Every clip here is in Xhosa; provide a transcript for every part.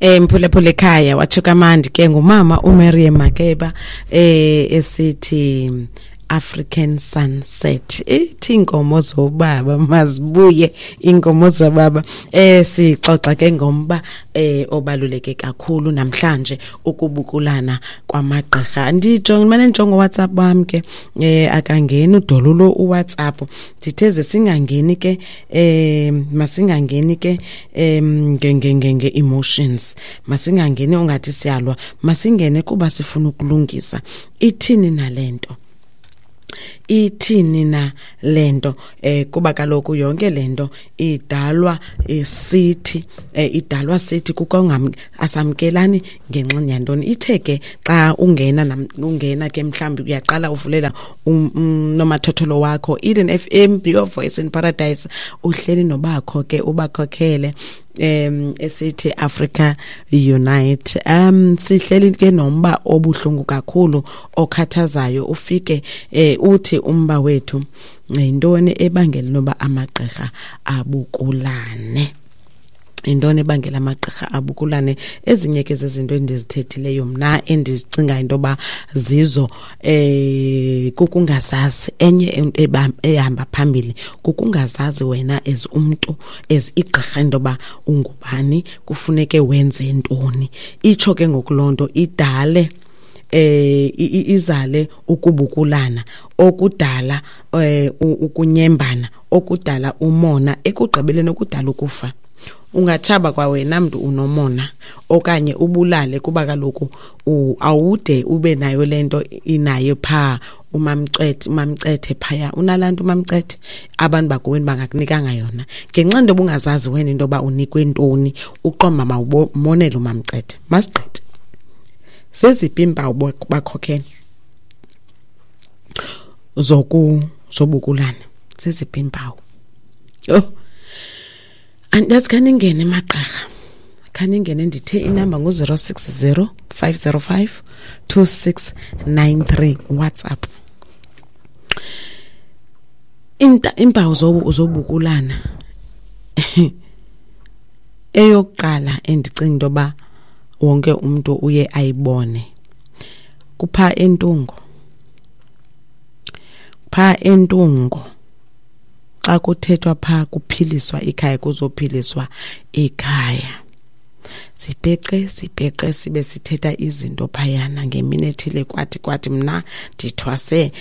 Mphulaphula ekhaya, watsho kamandi ke ngumama uMiriam Makeba esithi African Sunset. Ithi inkomo zobaba mazibuye, inkomo zobaba. Sixoxa ke ngomba obaluleke kakhulu namhlanje, ukubukulana kwamagqirha. Ndijonge mane ndijonge WhatsApp wam ke, akangeni udolulo uWhatsApp. Ndithe ze singangeni ke, masingangeni ke nge nge nge nge emotions, masingangeni ungathi siyalwa, masingene kuba sifuna ukulungisa. Ithini nalento? Ithini na lento? Kuba kaloku yonke lento idalwa sithi, idalwa sithi kukongam asamkelani ngenxa yantoni. Ithe ke xa ungena, ungena ke mhlawumbi uyaqala uvulela nomathotholo wakho, Eden FM, your voice in paradise, uhleli nobakho ke ubakhokhele esithi Africa Unite. Sihleli ke nomba obuhlungu kakhulu okhathazayo. Ufike uthi umba wethu yintoni ebangela noba amagqirha abukulane? Yintoni ebangela amagqirha abukulane? Ezinye ke zezinto endizithethileyo mna endizicinga into yoba zizo, kukungazazi. Enye ehamba phambili kukungazazi wena as umntu, as igqirha, into yoba ungubani, kufuneke wenze ntoni. Itsho ke ngoku loo nto idale izale ukubukulana okudala ukunyembana okudala umona, ekugqibeleni okudala ukufa. Ungatshaba kwawena mntu unomona okanye ubulale, kuba kaloku awude ube nayo le nto inayo phaa umamcethe. Umamcethe phaya unalaa nto umamcethe, abantu bakowenu bangakunikanga yona ngenxa into obungazazi wena into yoba unikwe ntoni, uqomba mawumonele umamcethe. Masigqithe. Zeziphi iimpawu, bakhokhele, zobukulana? Zeziphi iimpawu? Oh, andazi. Khaningene magqirha, khaningene. Ndithe inamba ngu-060 505 2693 WhatsApp. Iimpawu zobukulana, eyokuqala endicinga into yoba wonke umntu uye ayibone, kupha entungo. Phaa entungo xa kuthethwa phaa kuphiliswa ikhaya, kuzophiliswa ikhaya, sipeqe sipeqe sibe sithetha izinto phayana ngemini ethile, kwathi mna ndithwase,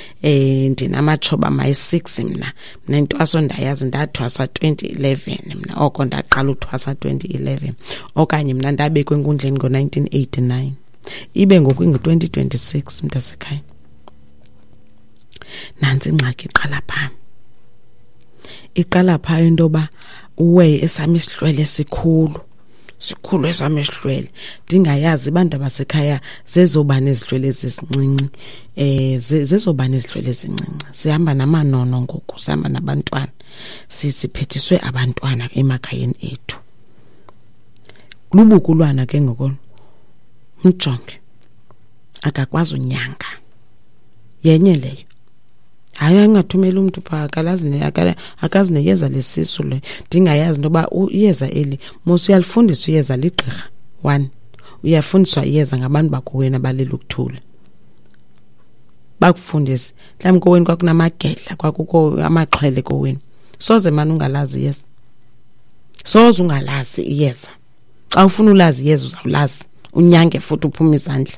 ndinamatshoba mayi-6 mna. Mna intwaso ndayazi, ndathwasa 2011 mna, oko ndaqala uthwasa 2011, okanye mna ndabekwa enkundleni ngo-1989, ibe ngoku ingu-2026. Mntasekhaya, nantsi ingxaki iqala phaa, iqala phaa into yoba uwe esam isihlwele sikhulu, sikhulu esam isihlwele, ndingayazi abantu abasekhaya zezobani izihlwele ezisincinci, zezobani izihlwele ezincinci. Sihamba namanono ngoku, sihamba nabantwana, siphethiswe abantwana emakhayeni ethu. Lubukulwana ke ngoko. Mjonge, akakwazi unyanga, yenye leyo. Hayi, angathumela umntu phaa, akalazi, akazi neyeza lesisu le. Ndingayazi into yoba iyeza eli mos uyalifundisa iyeza ligqirha one, uyafundiswa iyeza ngabantu bakowenu abalela ukuthula, bakufundise. Mhlawumbi kowenu kwakunamagedla, kwakukho amaxhwele kowenu. Soze mani ungalazi iyeza, soze ungalazi iyeza. Xa ufuna ulazi iyeza uzawulazi, unyange futhi uphume izandla.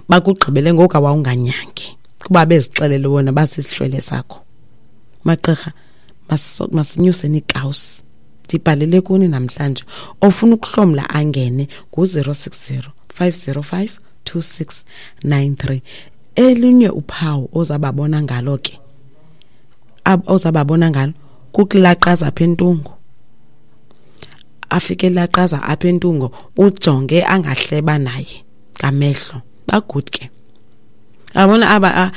Bakugqibele ngoku awawunganyangi kuba bezixelele wona basisihlwele sakho. Magqirha, masinyuseni iikawusi. Ndibhalele kuni namhlanje, ofuna ukuhlomla angene ngu-060 505 2693. Elinye uphawu ozababona ngalo ke, ozababona ngalo, kukulaqaza apha entungo. Afike elaqaza apha entungo, ujonge angahleba naye ngamehlo. Ba-good ke abona aba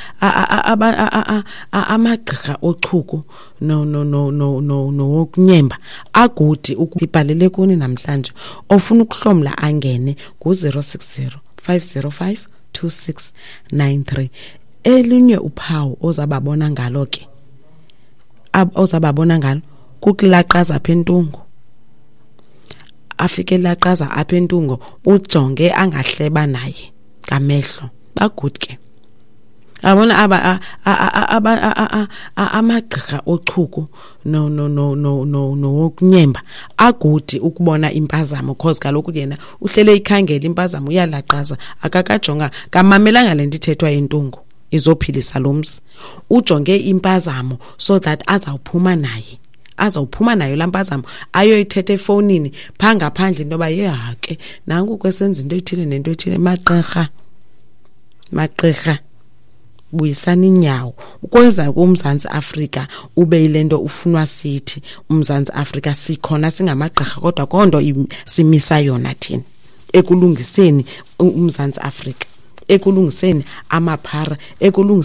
amagqirha ochuku no no no no no nowokunyemba a-good. Ndibhalele kuni namhlanje, ofuna ukuhlomla angene ngu-060 505 2693. Elinye uphawu ozababona ngalo ke, ozababona ngalo, kukulaqaza apha entungo. Afike laqaza apha entungo, ujonge angahleba naye ngamehlo. Ba-good ke. Abona aba amagqirha ochuku no no no no no nowokunyemba agudi ukubona impazamo, cause kaloku yena uhlele ikhangela impazamo, uyalaqaza, akakajonga kamamelanga le nto ithethwa yintungu izophilisa lo mzi. Ujonge impazamo so that azawuphuma naye, azawuphuma nayo laa mpazamo, ayoyithetha efowunini phaa ngaphandle into yoba yeha ke nanku kwesenza into ethile nento ethile. Magqirha, magqirha, buyisani inyawo ukwenza kuMzantsi Afrika ube yile nto ufunwa sithi uMzantsi Afrika. Sikhona singamagqirha, kodwa konto simisa yona thina ekulungiseni uMzantsi Afrika, ekulungiseni amaphara, ekulungiseni.